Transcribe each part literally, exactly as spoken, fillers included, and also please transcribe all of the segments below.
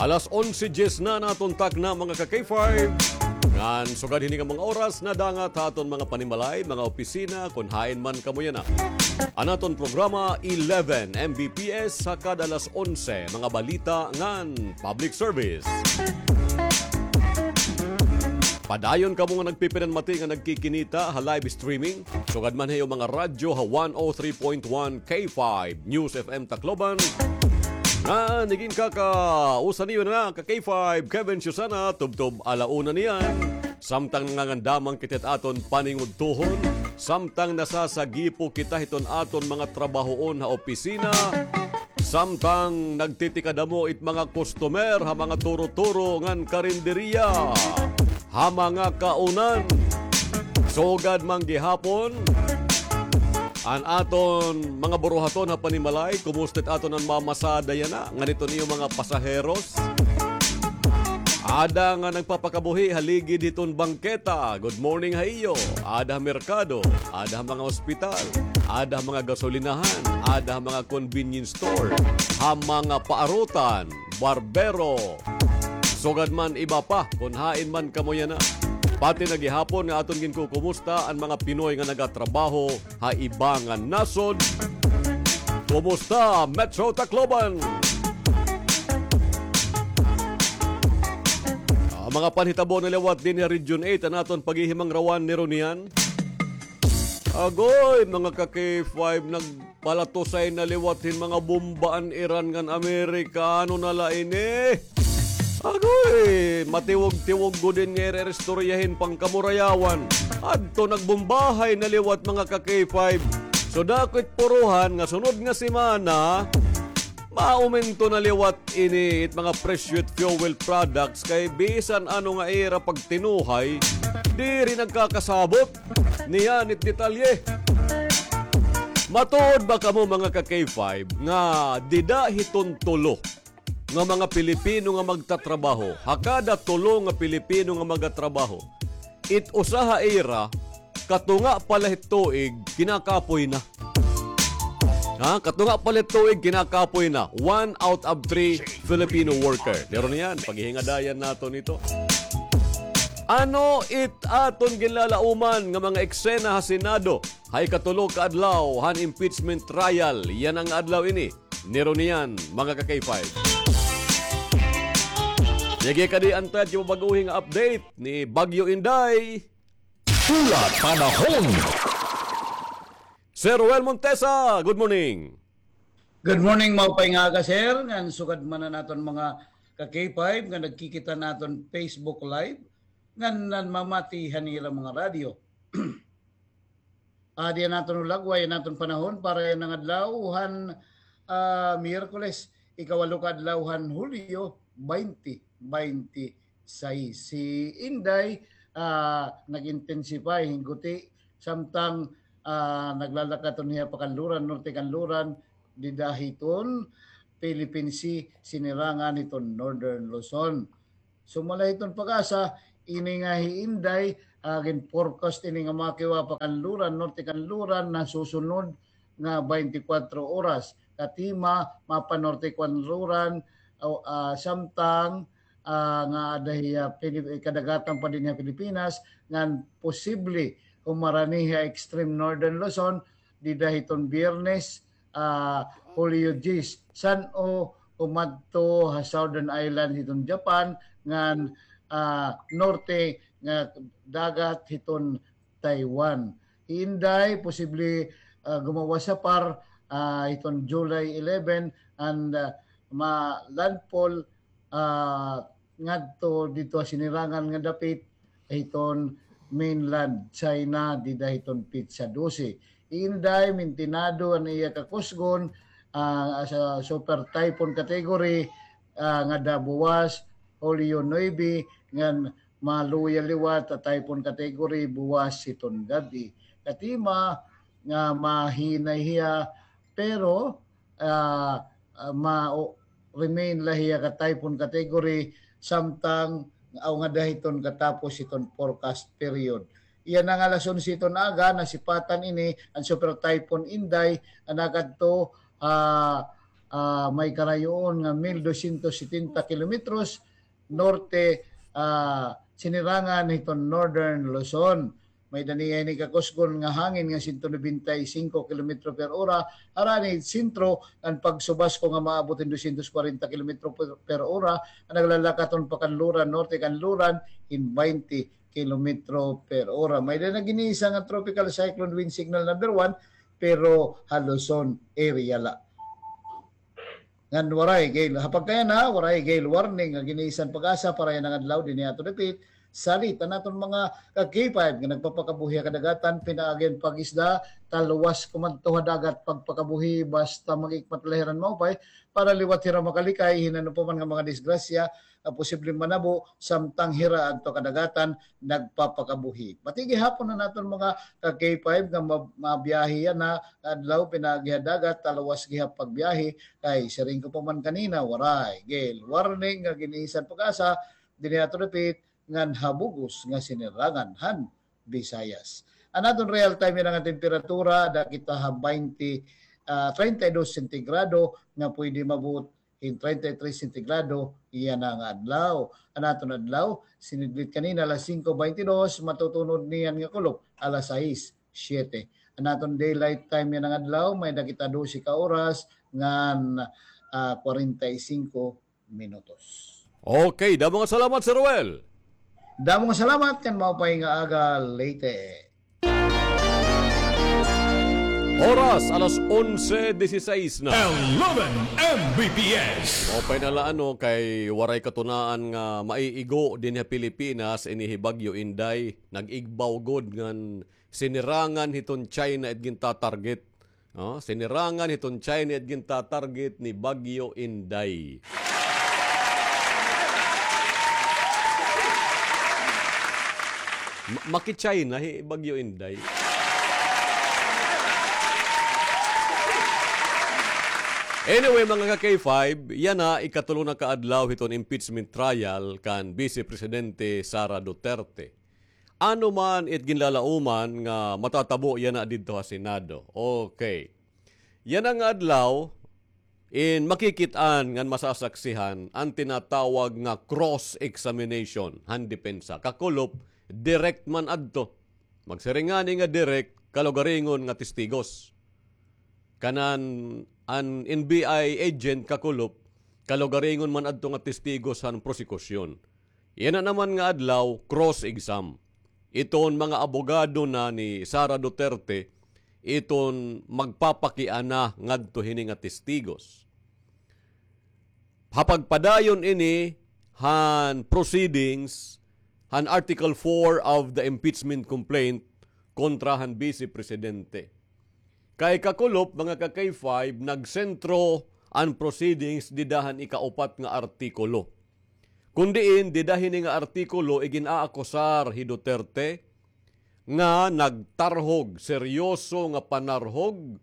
Alas onse dyes na an aton takna, mga ka-K five. Ngan sugad hini nga mga oras, nadangat ha aton mga panimalay, mga opisina, kon hain man kamo yana. An aton programa, eleven M B P S, ha kada alas onse, mga balita ngan public service. Padayon kamo nga nagpipinanmati nga nagkikinita ha live streaming, sugad man ha iyo mga radyo ha one oh three point one K five News F M Tacloban. Ngan iginkakausa niyo na ka-K five, Kevin Susana, tubtob ala una niyan. Samtang nangangandamang kita hit aton paningudtohon, samtang nasasagipo kita hiton aton mga trabahoon ha opisina, samtang nagtitikadamo it mga customer ha mga turo-turo ngan karinderiya, ha mga kaunan. Sugad man gihapon an aton mga buruhaton ha panimalay, kumusta it aton an mamasada yana ngan iton iyo mga pasaheros? Ada nga nagpapakabuhi ha ligid hiton bangketa, good morning ha iyo. Ada ha merkado, ada ha mga ospital, ada ha mga gasolinahan, ada ha mga convenience store, ha mga paarutan, barbero. Sugad man iba pa, kon hain man kamo yana. Pati na gihapon nga aton ginkukumusta an mga Pinoy nga nagatrabaho ha iba nga nasod. Kumusta, Metro Tacloban? Ah, mga panhitabo na liwat dinhi ha Region eight, an aton paghihimangrawan ni Ronian. Agoy, mga ka-K five, nagpalatusay na liwat hin mga bomba an Iran ngan Amerika. Ano na la ini? Agoy, matiwog-tiwog gud ini nga ira-istoryahin pa an kamurayawan. Adto nagbombahay na liwat, mga ka-K five. So, dako it puruhan nga sunod nga semana, maumento na liwat ini it mga presyo it fuel products kay bisan ano nga ira pagtinuhay, diri nagkakasabot. Niyan it detalye. Matuod ba kamo, mga ka-K five, nga dida hiton tulo nga mga Pilipino nga magtatrabaho, ha kada tulo nga Pilipino nga magatrabaho, it usa ha ira, katunga pa la hit tuig, kinakapoy na. Ha? Katunga pa la hit tuig, kinakapoy na. One out of three Filipino worker. Pero niyan, paghihingadayan naton ito. Ano it aton ginlalauman nga mga eksena ha Senado ha ikatulo ka adlaw han impeachment trial? Yana nga adlaw ini ni Ronian, mga ka-K five. Sige, kadi an aton baguhi nga update ni Bagyo Inday. Hulat panahon. Sir Roel Montesa, good morning. Good morning, maupay nga aga, sir. Ngan sugad man an aton mga ka-K five nga nagkikita han aton Facebook Live, ngan nanmamati han ira mga radyo. Adi an aton hulagway, an aton panahon para yana nga adlaw han, ah, Miyerkules, ikawalo ka adlaw han Hulyo, baynte baynte sais. Si Inday, ah, nag-intensify hin guti, samtang, ah, naglalakat hiton hiya pa Kanluran, Norte Kanluran, dida hiton Philippine Sea, sinirangan hiton Northern Luzon. Sumala hiton PAGASA, ini nga hi Inday, ah, gin-forecast ini nga makiwa pa Kanluran, Norte Kanluran, nasusunod nga baynte kwatro oras. Katima, mapa-Norte Kanluran, ah, samtang, ah, nga ada hiya Pilip-, kadagatan pa dinhi ha Pilipinas, ngan posible humarani ha extreme Northern Luzon, dida hiton Biyernes, ah, Hulyo diyes, san-o umadto ha Southern Island hiton Japan, ngan, ah, norte nga dagat hiton Taiwan. Hi Inday, posible, ah, gumawas ha par, ah, hiton July eleven, and, ah, ma-landfall, ah, ngadto didto ha sinirangan nga dapit hiton mainland China dida hiton petsa dose. Hi Inday, mintinado an iya kakusgon, ah, sa super typhoon category, ah, ngada buwas, Hulyo nuebe, ngan maluya liwat ha typhoon category buwas hiton gab-i. Katima nga mahinay hiya, pero ah, ah, ma-, o, remain la hiya ka typhoon category samtang aw ngada hiton katapos hiton forecast period. Yana nga alas onse hiton aga, nasipatan ini an Super Typhoon Inday, nga nakadto, ah, ah, may karayoon nga mil dosyentos setenta kilometros, norte, ah, sinirangan hiton Northern Luzon. May-ada niya ini kakusgon nga hangin nga sento nobenta y singko kilometro per ora, harani sentro, an pagsubasko nga maabot hin dosyentos kwarenta kilometro per, per ora, an naglalakaton pa kan Luran, norte kan Luran, hin baynte kilometro per ora. May-ada na gin-iisa nga tropical cyclone wind signal number one, pero ha Luzon area la. Ngan waray gale, ha pagkayana, waray gale warning nga gin-iisa han PAGASA para yana nga adlaw, dinhi ato dapit, salit an aton mga ka-K five nga nagpapakabuhi ha kadagatan, pinaagi han pag-isda, talwas kumadto ha dagat, pagpakabuhi, basta mag-ikmat la hira hin maupay, para liwat hira makalikay hin ano pa man nga mga disgrasya, ah, posibleng manabo samtang hira adto kadagatan nagpapakabuhi. Pati gihapon an aton mga ka-K five nga ma-, mabiyahe yana nga adlaw pinaagi ha dagat, talwas gihap pagbiyahe, kay siring ko pa man kanina, waray gale warning nga gin-iisa han PAGASA dinhi ato dapit ngan ha bug-os nga sinirangan han Visayas. An aton real time yana nga temperatura, ada kita ha baynte, ah, treinta y dos sentigrado nga pwede maabot hin treinta y tres sentigrado yana nga adlaw. An aton adlaw, sinidlit kanina alas singko baynte dos, matutunod niyan nga kulop alas sais, siyete. An aton daylight time yana nga adlaw, may-ada kita dose ka oras ngan, ah, kwarenta y singko minutos. Okay, damo nga salamat, Sir Ruel. Damo nga salamat, ngan maupay nga aga, Leyte. Oras, alas onse dieciséis na. Eleven M B P S. Maupay na la, ano, kay waray katunaan nga maiigo dinhi ha Pilipinas ini hi Bagyo Inday. Nag-igbaw gud ngan sinirangan hiton China it gintatarget. Oh, sinirangan hiton China it gintatarget ni Bagyo Inday. Ma-, maki-China hi Bagyo Inday. Anyway, mga ka-K five, yana ikatulo na ka adlaw hiton impeachment trial kan Vice Presidente Sara Duterte. Ano man it ginlalauman nga matatabo yana didto ha Senado. Okay. Yana nga adlaw, in makikit-an ngan masasaksihan an tinatawag nga cross-examination han depensa. Kakulop, direct man adto. Magsiring ngani nga direct, kalugaringon nga testigos. Kanan an N B I agent kakulop, kalugaringon man adto nga testigos han prosekusyon. Yana naman nga adlaw, cross-exam. Iton mga abogado na ni Sara Duterte, iton magpapakiana ngadto hini nga testigos. Ha pagpadayon ini han proceedings han Article four of the impeachment complaint kontra han Vice Presidente. Kay kakulop, mga ka-K five, nagsentro an proceedings dida han ikaupat nga artikulo. Kun diin, dida hini nga artikulo igin-aakusar hi Duterte nga nagtarhog, seryoso nga panarhog,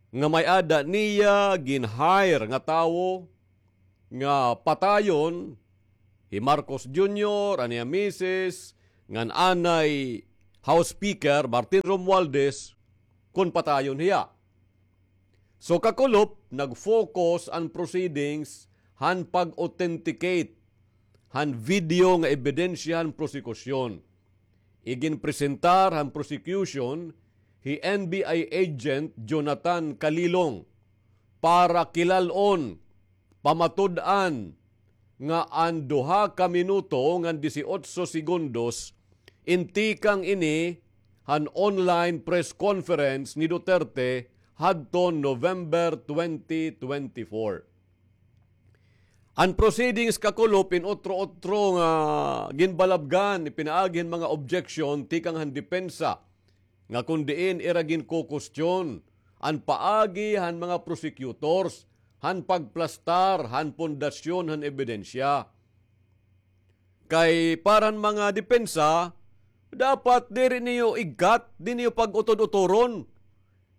nga may-ada niya gin-hire nga tawo nga patayon hi Marcos Junior, an iya misis, ngan anay House Speaker Martin Romualdez, kon patayon hiya. So, kakulop, nag-focus an proceedings han pag-authenticate han video nga ebidensya han prosekusyon. Iginpresentar han prosecution hi N B I agent Jonathan Calilong para kilal-on, pamatud-an nga an duha ka minuto ngan disiotso segundos in tikang ini han online press conference ni Duterte hadton November twenty twenty-four. An proceedings kakulop in otro-otro nga ginbalabgan, ipinaagi hin mga objection tikang han depensa, nga kun diin ira ginkukustyon an paagi han mga prosecutors han pagplastar han pundasyon han ebidensya. Kay para han mga depensa, dapat diri niyo igkat, di niyo pag-utod-uturon.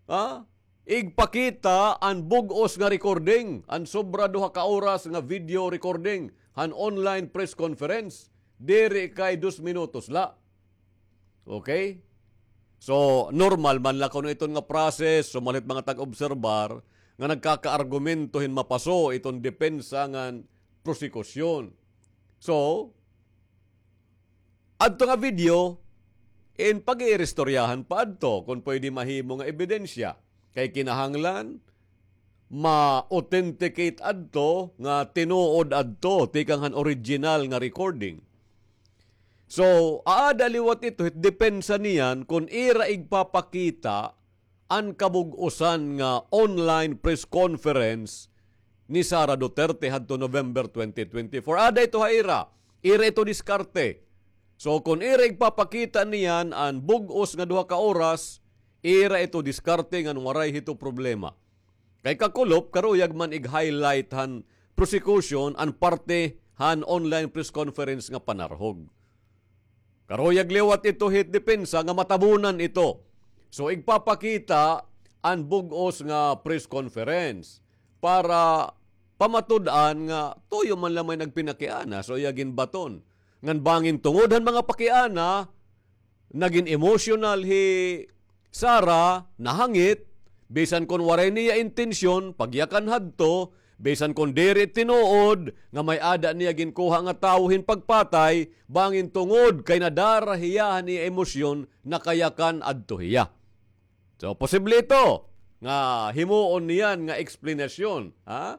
Ha? Igpakita an bug-os nga recording, an sobra duha ka oras nga video recording han online press conference, diri kay dos minutos la. Okay? So, normal man la kuno iton nga process, sumalit mga tag-obserbar, nga nagkakaargumento hin mapaso iton depensa ngan prosekusyon. So, adto nga video, in pag-iiristoryahan pa adto kon pwede mahimo nga ebidensya. Kay kinahanglan, ma-authenticate adto nga tinuod adto, tikang han original nga recording. So, aada liwat ito, hit depensa niyan, kon ira igpapakita an kabug-osan nga online press conference ni Sara Duterte hadto November twenty twenty-four. Ada ito ha ira. Ira ito diskarte. So, kon ira igpapakita niyan an bug-os nga duha ka oras, ira ito diskarte ngan waray hito problema. Kay kakulop, karuyag man ig-highlight han prosecution an parte han online press conference nga panarhog. Karuyag liwat ito hit depensa nga matabunan ito. So, igpapakita an bug-os nga press conference para pamatud-an nga tuyo man la may nagpinakiana, so iya ginbaton. Ngan bangin tungod han mga pakiana, nagin emosyonal hi Sara, nahangit, bisan kon waray niya intensyon, pagyakan hadto, bisan kon diri tinuod nga may-ada niya ginkuha nga tawo hin pagpatay, bangin tungod kay nadara hiya han iya emosyon, nakayakan adto hiya. So, posible ito nga himuon niyan nga eksplanasyon, ha?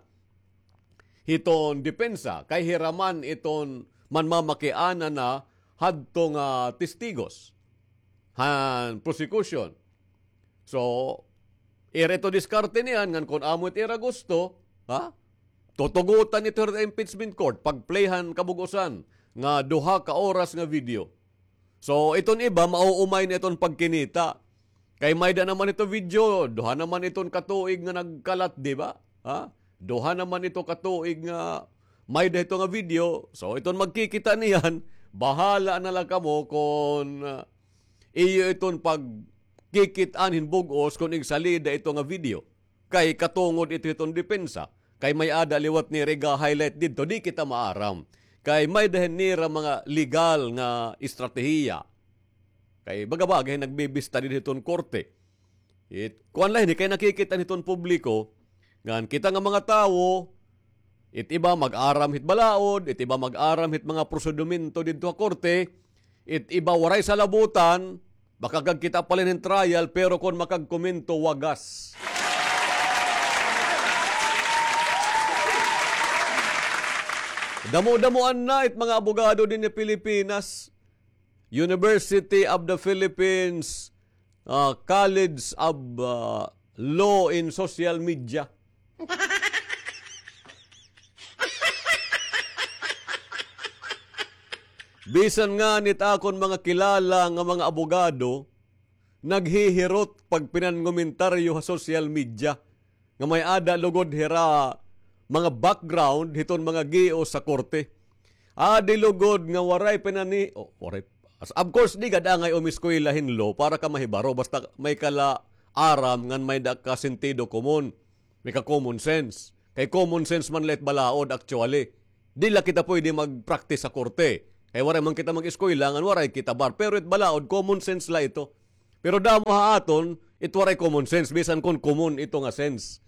Hiton depensa, kay hira man iton manmamakiana na hadto nga testigos han prosecution. So, ira ito diskarte niyan ngan kon amo it ira gusto, ha? Tutugotan ito hira impeachment court, pag-play han kabug-osan nga duha ka oras nga video. So, iton iba, mauumay na iton pagkinita. Kay may-ada naman ito video, duha naman iton katuig nga nagkalat, di ba? Ha? Duha naman ito katuig nga may-ada ito nga video. So, iton magkikita niyan, bahala na la kamo kon, ah, iyo iton pagkikit-an hin bug-os kon igsalida ito nga video. Kay katungod ito hiton depensa. Kay may-ada liwat nira iga-highlight didto, di kita maaram. Kay may-ada hin nira mga legal nga estratehiya. Kay baga-baga hin nagbibista dida hiton korte. It, kuan la hini, kay nakikita hiton publiko, ngan kita nga mga tawo, it iba mag-aram hit balaod, it iba mag-aram hit mga prosedimento didto ha korte, it iba waray salabutan, makagagkita pa la hin trial, pero kon makagkomento, wagas. Damo-damoan na it mga abogado dinhi Pilipinas. University of the Philippines, ah, College of, ah, Law in Social Media. Bisan ngani it akon mga kilala nga mga abogado, naghihirot pagpinangomentaryo ha social media nga may-ada lugod hira mga background hiton mga gios sa korte. Adi lugod nga waray pinani-, o, waray, as-, of course, di gad angay umiskwela hin law para ka mahibaro, basta may ka la aram ngan may-ada ka sentido komon, may ka common sense. Kay common sense man la it balaod, actually. Di la kita pwede mag-practice sa korte. Kay waray man kita mag-eskwela, ngan waray kita bar. Pero it balaod, common sense la ito. Pero damo ha aton, it waray common sense, bisan kon common ito nga sense.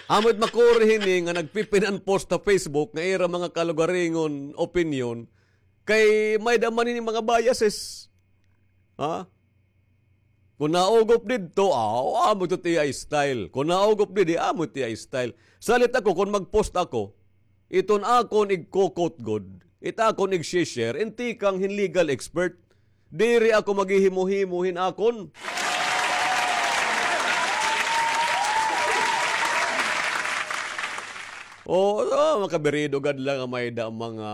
Amo it makuri hini nga nagpipinan post ha Facebook nga ira mga kalugaringon opinyon, kay may-ada man hini mga biases. Ha? Kon naugop didto, aw, amo ito it iya style. Kon naugop didi, amo it iya style. Salit ako, kon mag-post ako, iton akon igko-quote gud, it akon igsi-share, in tikang hin legal expert. Diri ako maghihimo-himo hin akon. O, o, makabirido gad la nga may-ada mga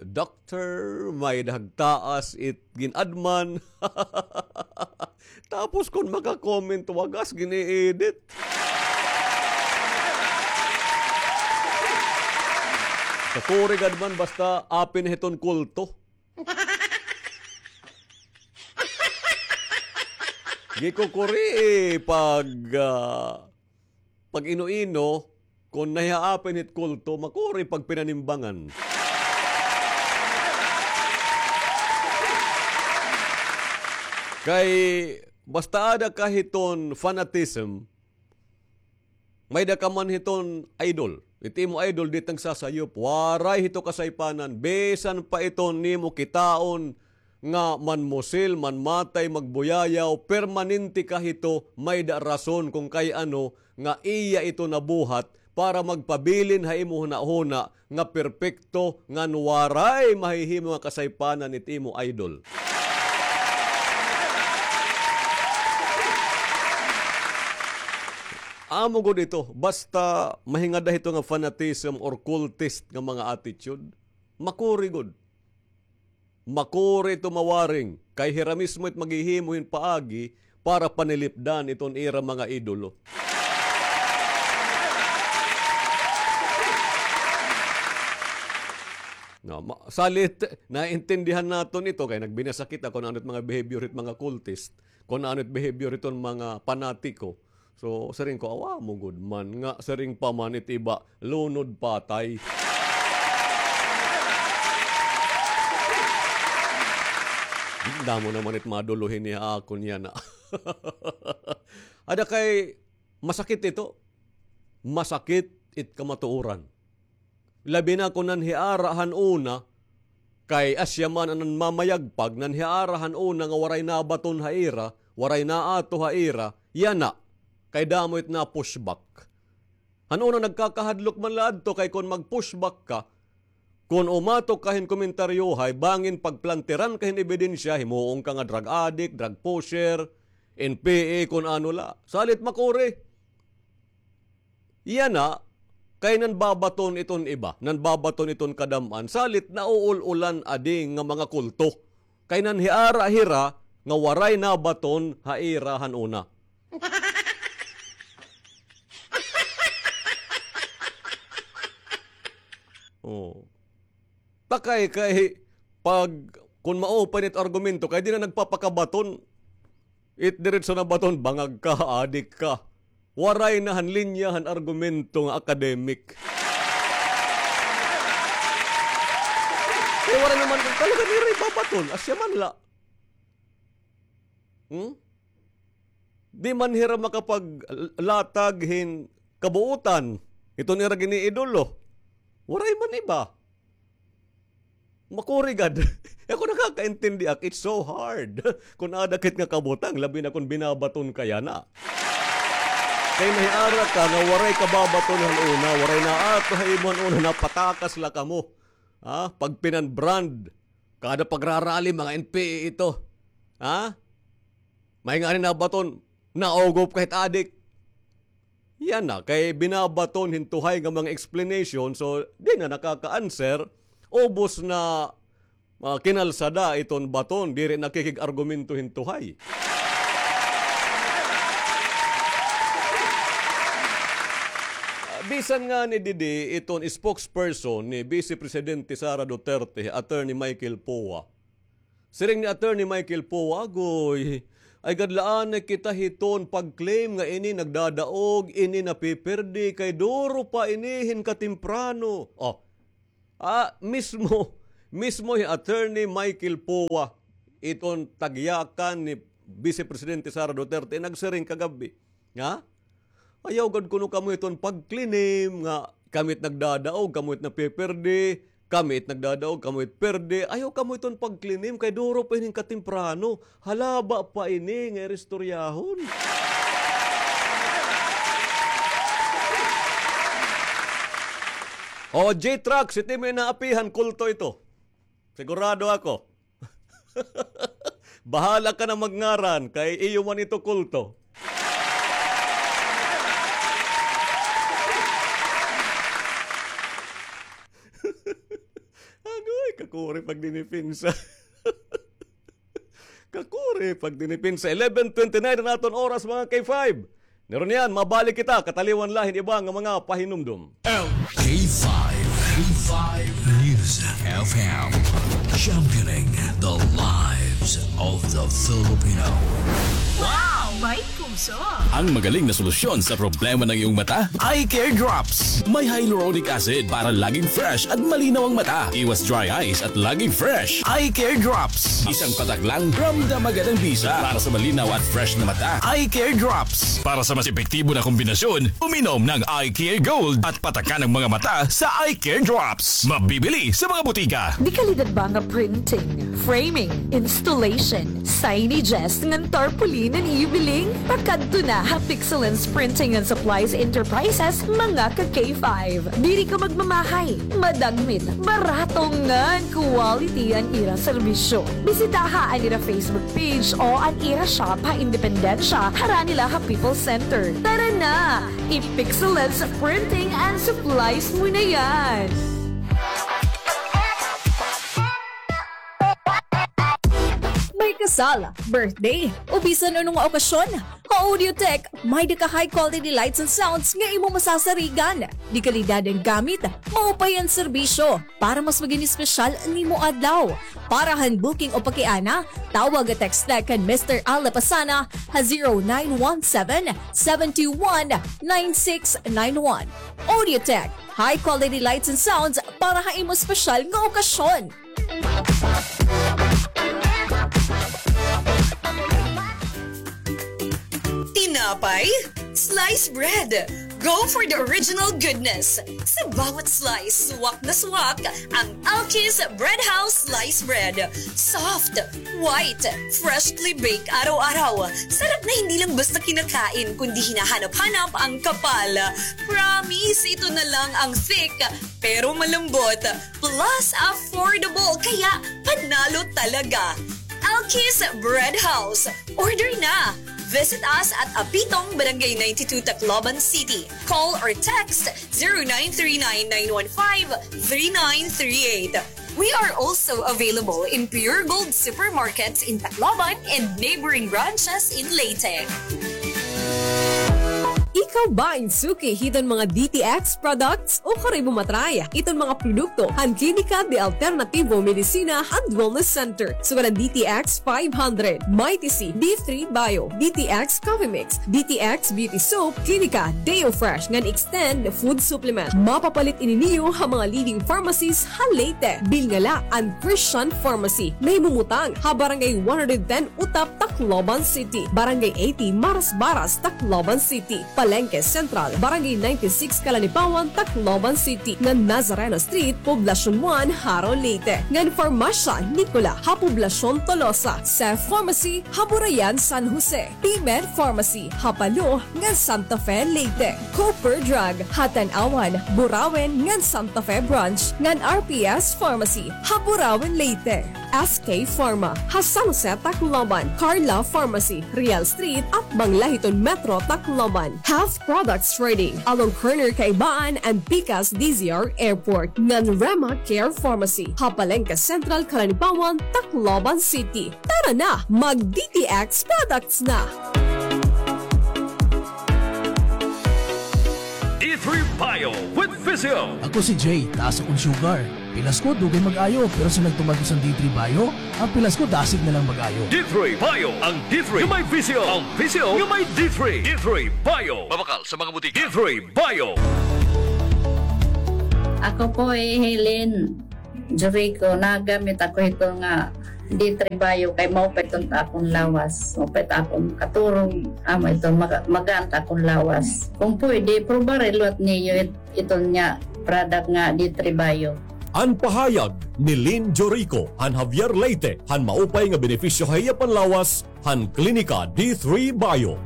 doc-, Sir, may-ada hagtaas it gin-adman. Tapos kon maka-comment, wagas, gin-i-edit. Kakuri gad man, basta apin hiton kulto. Gikukuri, eh, pag, ah, pag-ino-ino, kon nahihaapin hit kulto, makuri pagpinanimbangan. Kay Basta ada ka hiton fanatism, may-ada ka man hiton idol. It imo idol, di it nagsasayop. Waray hito kasaypanan. Bisan pa iton nimo kitaon nga manmusil, manmatay, magbuyayaw, permanente ka hito, may-ada rason kon kay ano nga iya ito nabuhat para magpabilin ha imo hunahuna nga perpekto ngan waray mahihimo nga kasaypanan it imo idol. Amo gud ito, basta mahingada hito nga fanatism or cultist nga mga attitude, makuri gud. Makuri ito mawaring, kay hira mismo it maghihimo hin paagi para panilipdan iton ira mga idolo. Na, ma-, salit, naintindihan naton ito, kay nagbinasa kita kon ano it mga behavior hit mga cultist, kon ano it behavior hiton mga panatiko. So, siring ko, awa mo gud man nga, siring pa man it iba, lunod patay. Damo naman it maduluhin niya ako niya na. Ada kay masakit ito. Masakit it kamatuoran. Labi na kon nanhiara han una, kay asya man an nanmamayagpag, nanhiara han una nga waray nabaton ha ira, waray naato ha ira, yana, kay damo it na-pushback. Han una nagkakahadlok man la adto, kay kon mag-pushback ka, kon umatok ka hin komentaryohay, bangin pagplantiran ka hin ebidensya, himuon ka nga drug addict, drug pusher, N P A, kon ano la. Salit makuri. Yana, kay nanbabaton iton iba, nanbabaton iton kadam-an, salit nauul-ulan adi nga mga kulto. Kay nanhiara hira nga waray nabaton ha ira han una. Oh. Takay kay pag, kun maupay it argumento, kay di na nagpapakabaton. It diretso na baton, bangag ka, adik ka. Waray na han linya han argumento nga academic. Kay waray naman, talaga nira ibabaton, asya man la. Hmm? Di man hira makapaglatag hin kabuutan. Iton ira giniidolo. Waray man iba. Makuri gad. Ako nakakaintindi ak, it's so hard. Kun ada kit nga kabutang, labi na kun binabaton ka yana. Kay mahiara ka nga waray kababaton han una, waray naato ha imo han una, napatakas la kamo. Ha? Pagpinan-brand. Kada pagrarally, mga N P A ito. Ha? May nga ni nabaton, naugop kahit adik. Yana, kay binabaton hin tuhay nga mga explanation, so di na nakaka-answer, ubos na, ah, kinalsada iton baton, diri nakikig-argumento hin tuhay. Ah, bisan ngani didi iton spokesperson ni Vice Presidente Sara Duterte, Attorney Michael Poa. Siring ni Attorney Michael Poa, agoy, ay gadlaanay kita hiton pag-claim nga ini nagdadaog, ini napipirdi, kay duro pa ini hin katemprano. Oh. Ah, mismo, mismo hi Attorney Michael Poa, iton tagyakan ni Vice Presidente Sara Duterte, nagsiring kagab-i. Ha? Ayaw gad kuno kamo iton pag-claim nga kami it nagdadaog, kamo it napipirdi, kami it nagdadaog, kamo it pirdi. Ayaw kamo iton pag-claim kay duro pa ini katemprano. Halaba pa ini nga ira istoryahon. O, J-Trax, it imo inaapihan, kulto ito. Sigurado ako. Bahala ka na magngaran, kay iyo man ito kulto. Agoy, kakuri pagdinipensa. Kakuri pagdinipensa. Eleven twenty-nine an aton oras, mga K five. Niro niyan, mabalik kita, kataliwan la hin iba nga mga pahinumdom. L K five, K five News F M. Championing the lives of the Filipino. Wow! May puso. Ang magaling na solusyon sa problema ng iyong mata, Eye Care Drops. May hyaluronic acid para laging fresh at malinaw ang mata. Iwas dry eyes at laging fresh. Eye Care Drops. Isang patak lang, ramdam agad ang bisa para sa malinaw at fresh na mata. Eye Care Drops. Para sa mas epektibo na kombinasyon, uminom ng Eye Care Gold at patakan ang mga mata sa Eye Care Drops. Mabibili sa mga butika. Dekalidad ba nga printing, framing, installation, signages ngan tarpaulin an iyo biling? Pakadto na ha Pixelens Printing and Supplies Enterprises, mga ka K five. Diri ka magmamahay, madagmit, barato ngan quality an ira serbisyo. Bisitaha an ira Facebook page o an ira shop ha Independencia, harani la ha People's Center. Tara na! I-Pixelens Printing and Supplies mo na yan! May kasal, birthday, o bisan ano nga okasyon, ha Audiotech, may-ada ka high quality lights and sounds nga imo masasarigan. Dekalidad an gamit, maupay an serbisyo. Para mas maging espesyal an imo adlaw. Para han booking o pakiana, tawag o text la kan Mister Al Lapasana ha zero nine one seven, seven two one, nine six nine one. Audiotech, high quality lights and sounds para ha imo espesyal nga okasyon. Tinapay? Slice bread! Go for the original goodness! Sa bawat slice, swak na swak ang Alki's Bread House Slice Bread. Soft, white, freshly baked araw-araw. Sarap na hindi lang basta kinakain, kundi hinahanap-hanap ang kapal. Promise, ito na lang ang thick, pero malambot. Plus, affordable, kaya panalo talaga. Alki's Bread House. Order na! Visit us at Apitong, Barangay ninety-two, Tacloban City. Call or text zero nine three nine, nine one five, three nine three eight. We are also available in Pure Gold supermarkets in Tacloban and neighboring branches in Leyte. Ikaw ba in suki hiton mga D T X products o kari mo matry iton mga produkto han Klinika de Alternativo Medicina and Wellness Center? Sugad an D T X five hundred, Mighty C, D three Bio, D T X Coffee Mix, D T X Beauty Soap, Klinika Deo Fresh ngan Extend Food Supplement. Mapapalit ini niyo ha mga leading pharmacies ha Leyte. Bilnga la an Christian Pharmacy. Nahimumutang ha Barangay one hundred ten Utap, Tacloban City, Barangay eighty Marasbaras, Tacloban City, Palengke Central, Barangay ninety-six Kalanipawan, Tacloban City, ngan Nazareno Street, Poblacion one, Jaro, Leyte, ngan Farmasya Nicola ha Poblacion Tolosa, Seth Pharmacy ha Burayan, San Jose, P-Med Pharmacy ha Palo ngan Santa Fe, Leyte, Cooper Drug ha Tanauan, Burauen ngan Santa Fe Branch, ngan R P S Pharmacy ha Burauen, Leyte. S K Pharma ha San Jose, Tacloban, Carla Pharmacy, Real Street, atbang la hiton Metro Tacloban, Health Products Trading, along corner Kaibaan and Pikas D Z R Airport, ngan Rema Care Pharmacy ha Palengke Central, Kalanipawan, Tacloban City. Tara na, mag D T X products na! D three Bio with Visio. Ako si Jay, taas akon sugar. Pilas ko, dugay mag-ayo, pero sa nagtumar ko sa D three Bio, ang pilas ko dasig na lang mag-ayo. D three Bio, ang D three nga may Visio, ang Visio nga may D three. D three Bio. Mabakal sa mga butika. D three Bio. Ako po hi Helen Jurico, nagamit ako hito nga D three Bio kay maupay iton ha akon lawas, maupay it akon katurog, amo iton maga-, magaan it akon lawas. Kung pwede, probare liwat niyo it-, iton nga product nga D three Bio. An pahayag ni Lynn Jorico han Javier Leyte han maupay nga benepisyo ha iya panlawas han Klinika D three Bio.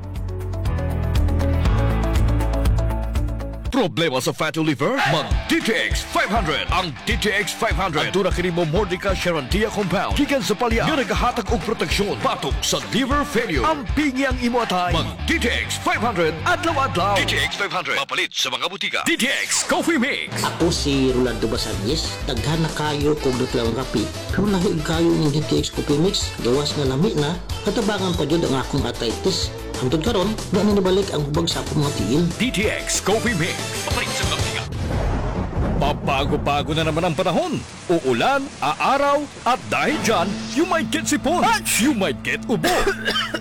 Problema sa fatty liver? Mag D T X five hundred. Ang D T X five hundred. Aduna kini Momordica charantia compound gikan sa palya nga nagahatag og proteksyon batok sa liver failure. Ampingi ang imo atay. Mag D T X five hundred adlaw-adlaw. D T X five hundred. Mapalit sa mga butika. D T X Coffee Mix. Ako si Rolando Basangues, daghan na kaayo ko og natural nga kape. Pero lahi kaayo ining D T X Coffee Mix, gawas nga lami na, natabangan pa jud ang akong arthritis. Hangtod karon, wa na nibalik ang hubag sa akong mga tiil. D T X Coffee Mix. Mapalit sa mga butika. Pabago-bago na naman ang panahon. Uulan, aaraw, at dahil dyan, you might get sipon. Ach! You might get ubo.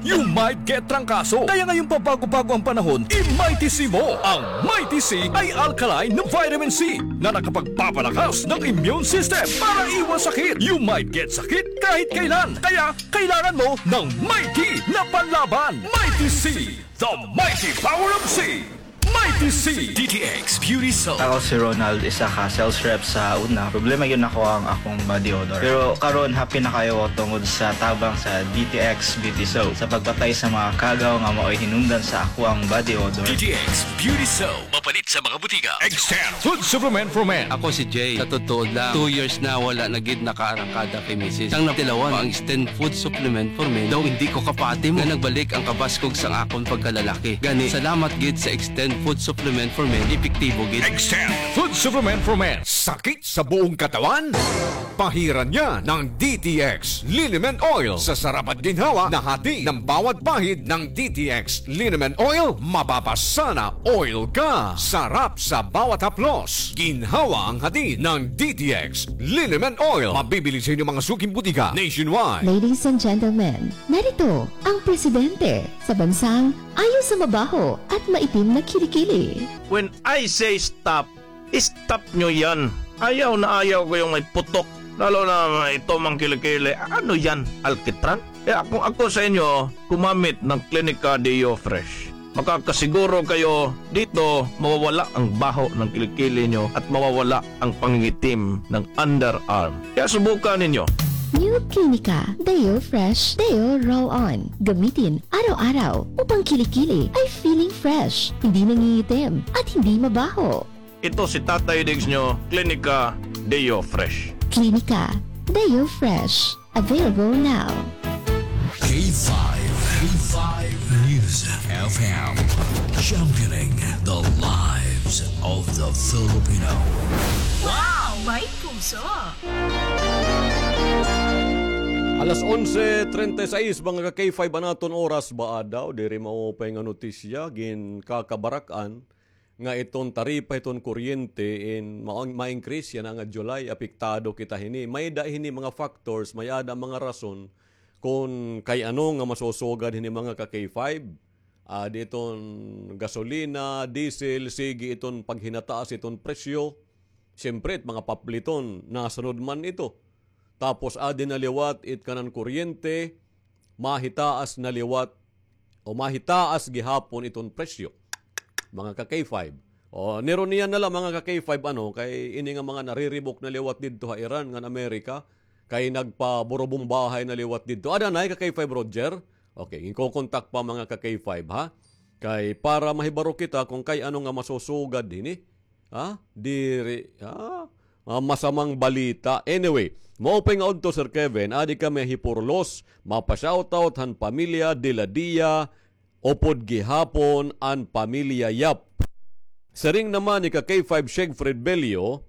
You might get trangkaso. Kaya ngayong pabago-bago ang panahon, i-Mighty C mo. Ang Mighty C ay alkaline na vitamin C na nakapagpapalakas ng immune system para iwas sakit. You might get sakit kahit kailan. Kaya kailangan mo ng Mighty na panlaban. Mighty C, the mighty power of C. Mighty C. D T X Beauty Soap. Ako si Ronald, isa ka sales rep sa una. Problema gyud nako ang akong body odor. Pero karon, happy na kaayo ko tungod sa tabang sa D T X Beauty Soap sa pagpatay sa mga kagaw nga maoy hinungdan sa akoang body odor. D T X Beauty Soap. Mapalit sa mga butika. Extend Food Supplement for Men. Ako si Jay. Sa totoo lang, two years na wala na gid nakaarangkada kay misis. Sang natilawan ang Extend Food Supplement for Men, daw hindi ko kapati mo nga nagbalik ang kabaskog sang akon pagkalalaki. Gani, salamat gid sa Extend Food Supplement for Men, epektibo gid. Extend Food Supplement for Men. Sakit sa buong katawan? Pahiran niya ng D T X Liniment Oil sa sarap at ginhawa na hatid ng bawat pahid ng D T X Liniment Oil. Mapapasana oil ka. Sarap sa bawat haplos. Ginhawa ang hatid ng D T X Liniment Oil. Mabibili sa inyong mga suking butika nationwide. Ladies and gentlemen, narito ang presidente sa bansang ayaw sa mabaho at maitim na kilikili. When I say stop, stop nyo yan. Ayaw na ayaw ko yung may putok. Lalo na ito, mga kilikili. Ano yan? Alkitran? Kaya kung ako sa inyo, gumamit ng Clinica Deo Fresh. Makakasiguro kayo dito, mawawala ang baho ng kilikili nyo at mawawala ang pangingitim ng underarm. Kaya subukan ninyo. New Clinica Deo Fresh Deo Roll On. Gamitin araw-araw upang kilikili ay feeling fresh, hindi nangingitim, at hindi mabaho. Ito si Tatay Diggs nyo, Clinica Deo Fresh. Clinica Deo Fresh. Available now. K five, K five News F M, championing the lives of the Filipino. Wow! May puso! Alas onse treinta y seis, mga ka-K five, an aton oras. Baa daw diri maupay nga notisya, ginkakabarak-an nga iton taripa hiton kuryente in ma-, ma-increase yana nga July, apektado kita hini. May-ada hini mga factors, may-ada mga rason kon kay ano nga masusugad hini, mga ka-K five. Ah, di iton gasolina, diesel, sige iton paghinataas iton presyo. Siyempre, it mga papliton, nasunod man ito. Tapos, adi na liwat it kanan kuryente, mahitaas na liwat o mahitaas gihapon iton presyo. Mga ka-K five. O, nirunian na la, mga ka-K five, ano, kay ini nga mga nariribok na liwat didto ha Iran ngan Amerika, kay nagpaburubong bahay na liwat didto. Ada na, ka-K five Roger? Okay, ginkokontak pa, mga ka-K five, ha? Kay para mahibaro kita kung kay ano nga masusugad hini. Ha? Diri, ha? Ah, masamang balita. Anyway, maupay nga udto, Sir Kevin, adi kami ha Hiporlos, mapa-shoutout han pamilya Diladia, upod gihapon an pamilya Yap. Siring naman ni ka-K five Siegfried Bello,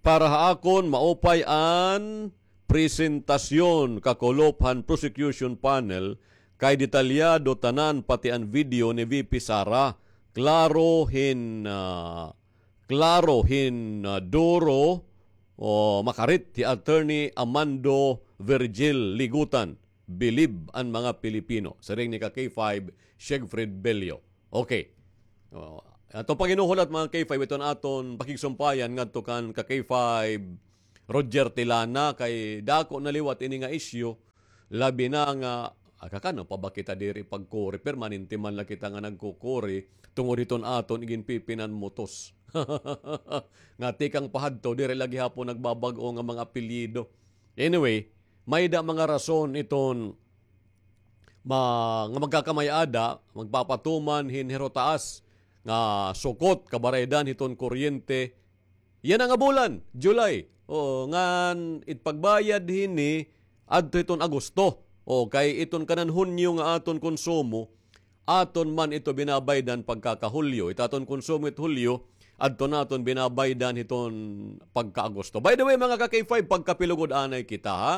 para ha akon, maupay an presentasyon kakulop han prosecution panel, kay detalyado tanan, pati an video ni V P Sara. Klaro hin, ah, klaro hin, ah, duro o makarit hi Attorney Amando Virgil Ligutan. Bilib an mga Pilipino. Siring ni ka-K five Siegfried Bello. Okay. O, aton paghinuhulat, mga K five, iton aton pakigsumpayan ngadto kan ka-K five Roger Tilana, kay dako na liwat ini nga isyu, labi na nga, ah, kakano pa ba kita diri pagkuri, permanente man la kita nga nagkukuri tungod hiton aton iginpipinanmutos. Nga tikang pahadto, diri la gihapon nagbabag-o nga mga apelyido. Anyway, may-ada mga rason iton ma-, nga magkakamay-ada, magpapatuman hin hirotaas nga sukot, kabaraydan hiton kuryente. Yana nga bulan, July. Oo, ngan it pagbayad hini adto hiton Agosto. O, kay iton kanan Hunyo nga aton konsumo, aton man ito binabaydan pagkaka-Hulyo. It aton konsumo it Hulyo, adto naton binabaydan hiton pagka-Agosto. By the way, mga ka-K five, pagkapilugod anay kita, ha?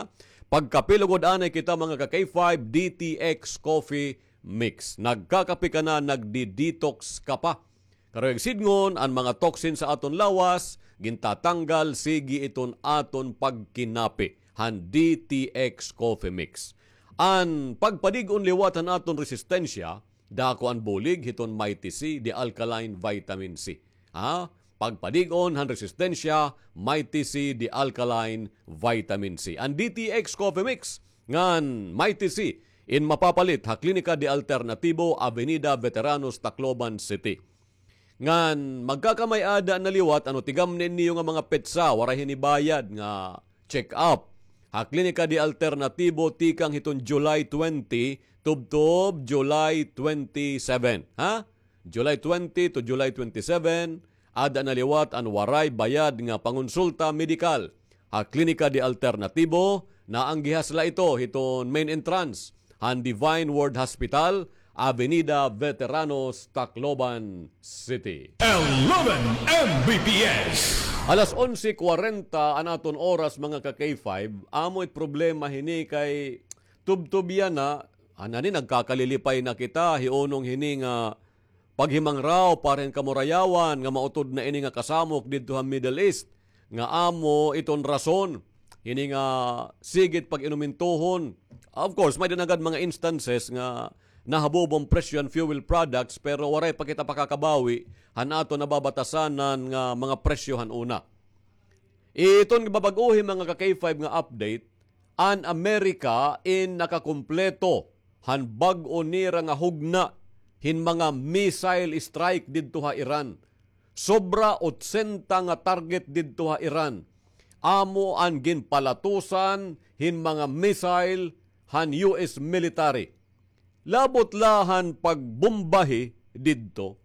Pagkapilugod anay kita, mga ka-K five, D T X Coffee Mix. Nagkakape ka na, nagdi-detox ka pa. Karuyag sidngon, an mga toxin sa aton lawas, gintatanggal, sige iton aton pagkinape han D T X Coffee Mix. An pagpadig-on liwat han aton resistensya, dako an bulig hiton Mighty C, the alkaline vitamin C. Ha? Pagpadig-on han resistensya, Mighty C, the alkaline vitamin C. An D T X Coffee Mix ngan Mighty C in mapapalit ha Klinika de Alternatibo, Avenida Veteranos, Tacloban City. Ngan magkakamay-ada na liwat, ano, tigamni niyo nga mga petsa, waray hini bayad nga check-up. Ha Klinika de Alternatibo tikang hiton July twenty tubtob July twenty-seven, ha? July twenty to July twenty-seven, ada na liwat an waray bayad nga pangonsulta medikal. Ha Klinika de Alternatibo, naanggihas la ito hiton main entrance han Divine Word Hospital, Avenida Veteranos, Tacloban City. Eleven M B P S. Alas onse kwarenta an aton oras, mga ka-K five. Amo it problema hini kay tubtob yana, anani nagkakalilipay na kita, hiunong hini nga paghimangraw, para hin kamurayawan nga mautod na ini nga kasamok didto ha Middle East, nga amo iton rason hini nga sige it pag-inumintuhon. Of course, may-ada na gad mga instances nga nahabubo an presyo han fuel products, pero waray pa kita pakakabawi han aton nababatasanan nga mga presyo han una. Iton bag-ohi, mga ka-K five, nga update, an Amerika in nakakumpleto han bag-o nira nga hugna hin mga missile strike didto ha Iran. Sobra otsenta nga target didto ha Iran amo an ginpalatusan hin mga missile han U S military. Labot la han pagbombahi didto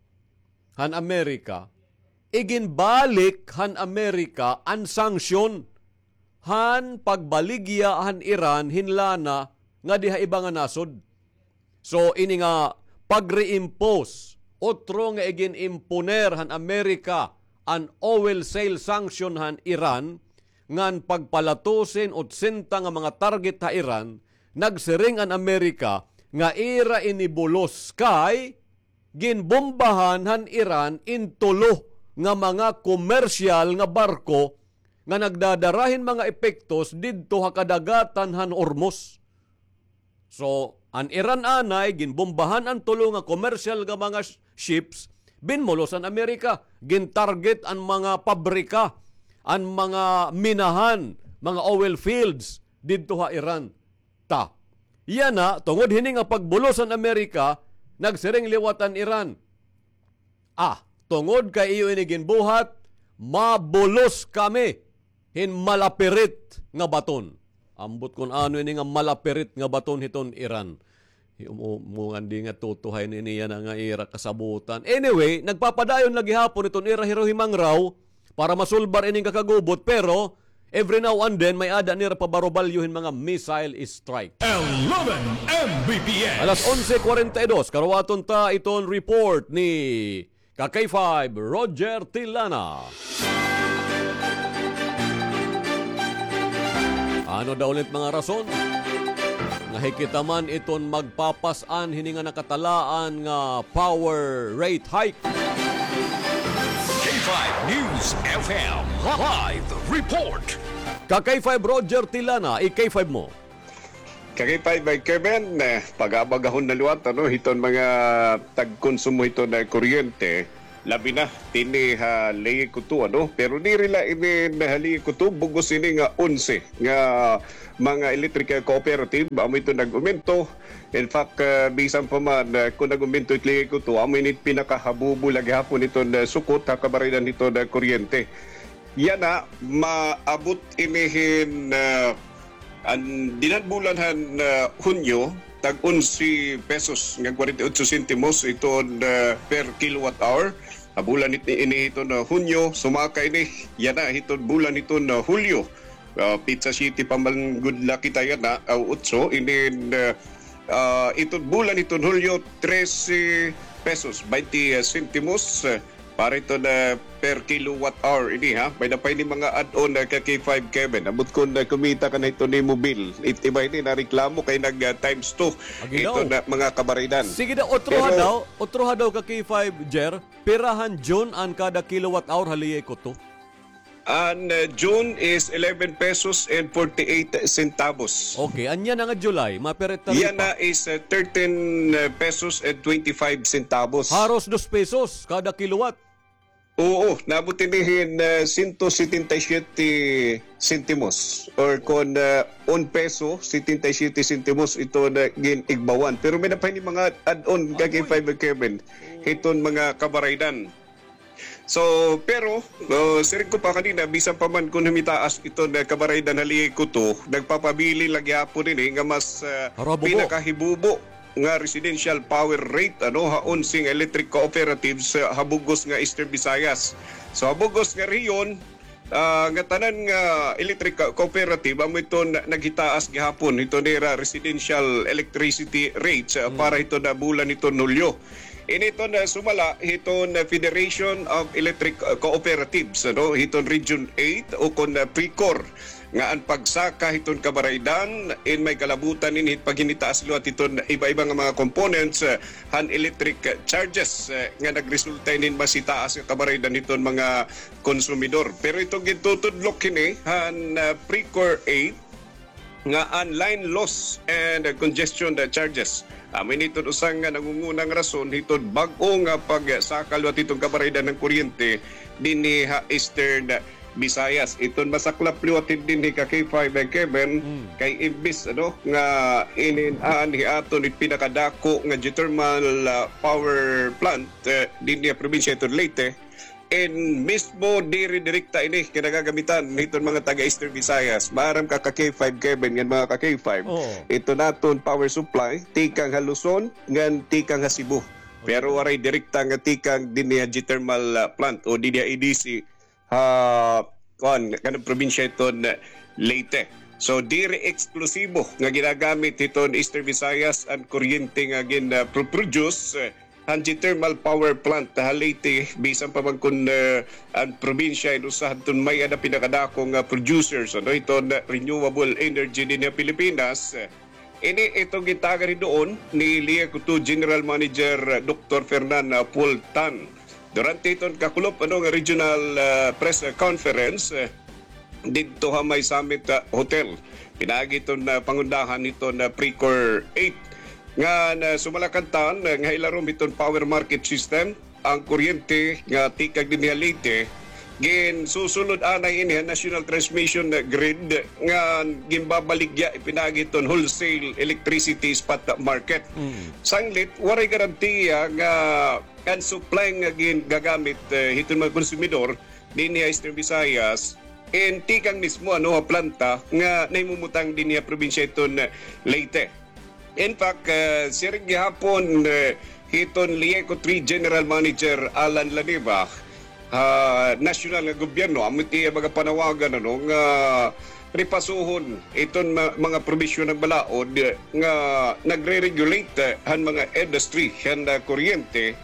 han Amerika, iginbalik han Amerika an sanksyon han pagbaligya han Iran hin lana ngadi ha iba nga nasod. So, ini nga pag-reimpose, otro nga igin-imponer han Amerika an oil sale sanction han Iran, ngan pagpalatusin otsenta nga mga target ha Iran, nagsiring an Amerika nga ira ini bulos kay ginbombahan han Iran in tulo nga mga komersyal nga barko nga nagdadara hin mga epektos didto ha kadagatan han Hormuz. So, an Iran anay, ginbombahan an tulo nga komersyal nga mga sh-, ships, binmulos an Amerika, gintarget an mga pabrika, an mga minahan, mga oil fields didto ha Iran. Ta. Yana, tungod hini nga pagbulos han Amerika, nagsiring liwat an Iran. Ah, tungod kay iyo ini ginbuhat, mabulos kami hin malapirit nga baton. Ambot kon ano ini nga malapirit nga baton hiton Iran. Mu-, mungandi nga tutuhay ini yana nga ira kasabutan. Anyway, nagpapadayon la gihapon iton ira hiruhimangraw para masulbar ining kakagubot, pero every now and then, may-ada nira pabarubalyo hin mga missile strike. Eleven M B P S. Alas onse kwarenta y dos, karuwaton ta iton report ni ka-K five, Roger Tilana. Ano daw ulit mga rason nga hikitaman iton magpapas-an hini nga nakatalaan nga power rate hike? K five News F M live report. Ka-K five Roger Tilana, i-K five mo. Ka-K five, Kevin, eh, pag-aabagahon na liwat, ano, hiton mga tagkonsumo hiton kuryente, labi na dinhi ha Leyte, ano, pero diri la ini ha Leyte, bug-os ini nga onse nga mga electric cooperative, amo ito nag-umento. In fact, ah, bisan pa man, ah, kon nag-umento it Leyte, amo ini pinakahabubo la gihapon iton, ah, sukot ha kabaridan hiton, ah, kuryente. Yana, maabot ini hin, ah, an dinhan bulan han, ah, Hunyo, tag onse pesos nga kwarenta y otso sentimos iton, ah, per kilowatt hour. Ha bulan it-, ini hiton, ah, Hunyo, sumaka ini, yana hiton bulan hiton, ah, Hulyo. Ah, pitsa siyete pa man gud la kita yana, ah, otso, inin, ah, ah, iton bulan hiton Hulyo, trese pesos, baynte sentimos, ah, para iton, ah, per kilowatt hour ini, ha. May-ada pa ini mga add-on, ah, ka-K five, Kevin. Ambot kon, ah, kumita ka na hiton imo bill. It iba ini nareklamo kay nag, ah, times two. Agi daw. Iton, ah, mga kabaridan. Sige daw, otro ha daw, otro ha daw ka-K five, Jer. Pira han June an kada kilowatt hour ha Leyte? An, uh, June is eleven pesos and forty-eight centavos. Okay, anya na nga July, mapirit na Yan ripa. Na is, uh, thirteen pesos and twenty-five centavos. Haros dos pesos kada kilowatt. Oo, naabot ini hin, uh, sento setenta y siyete sentimos or kon, uh, un peso, setenta y siyete sentimos ito na gin-igbawan. Pero may na pa ini mga add-on, Agoy. Kaki Five Kevin, hiton mga kabaraydan. So, pero, uh, siring ko pa kanina, bisan pa man kon humitaas iton, uh, kabaraydan ha Liay Kuto, nagpapabilin la gihapon ini nga mas, uh, Harabubo. Pinakahibubo nga residential power rate, ano, ha onse nga electric cooperatives, uh, ha bug-os nga Eastern Visayas. So, ha bug-os nga rehiyon, ah, nga tanan nga electric co-, cooperative, amo iton naghitaas gihapon hiton ira residential electricity rates, ah, Mm. Para hiton, ah, bulan hiton Hulyo. Ini iton, ah, sumala hiton, ah, Federation of Electric, ah, Cooperatives, ano, hiton Region eight o kon, ah, PRECOR, nga an pagsaka hiton kabaraydan in may kalabutan ini hit paghinitaas liwat hiton iba-iba nga mga components, ah, han electric charges, ah, nga nagresulta inin mas hitaas nga kabaraydan hiton mga konsumidor. Pero iton gintutudlok hini han, ah, PRECOR eight nga an line loss and congestion charges. Amo ini iton usa nga nangungunang rason hiton bag-o nga pagsaka liwat hiton kabaraydan han kuryente dinhi ha Eastern Visayas. Iton masaklap liwat dinhi ka K five, eh, Kevin, Mm. kay imbis, ano, nga inin-an hiaton it pinakadako nga geothermal, ah, power plant, eh, dinhi ha probinsya hiton Leyte, in mismo diri direkta ini kinagagamitan hiton mga taga Eastern Visayas. Maaram ka ka K five, Kevin, ngan mga ka K five. Oo. Ito naton power supply, tikang ha Luzon, ngan tikang ha Cebu. Pero waray direkta nga tikang dinhi ha geothermal, ah, plant o dinhi ha E D C, ha, kuan, kanang probinsya hiton, ah, Leyte. So, diri eksklusibo nga ginagamit hiton Eastern Visayas an kuryente nga gin, ah, pro-, produce, eh, han geothermal power plant ha Leyte, bisan pa man kon, eh, an probinsya in usa hadton may-ada pinakadako nga producers, ano, hiton, ah, renewable energy dinhi ha Pilipinas. Ini iton gitagan hinuon ni Liay Kuto General Manager Doktor Fernan, ah, Paul Tan. Durante iton kakulop, ano, nga regional, ah, press conference, eh, didto ha may Summit, ah, Hotel. Pinaagi iton, ah, pangundahan hiton, ah, PRECOR eight. Ngan, ah, sumala kan Tan, ah, nga hilarom hiton power market system, an kuryente nga tikang dinhi ha Leyte, ginsusulod anay ini ha national transmission grid nga ginbabaligya pinaagi hiton wholesale electricity spot market. Mm. Sanglit, waray garantiya nga an supply nga ginagamit, eh, hiton mga konsumidor dinhi ha Eastern Visayas, in tikang mismo, ano, ha planta nga nahimumutang dinhi ha probinsya hiton Leyte. In fact, eh, siring gihapon, eh, hiton Liay Kuto three General Manager Alan Laniba, ha nasyonal nga gobyerno, amo it iya mga panawagan, ano, nga ripasuhon iton ma-, mga probisyon han balaod, eh, nga nagre-regulate, eh, han mga industry han, ah, kuryente.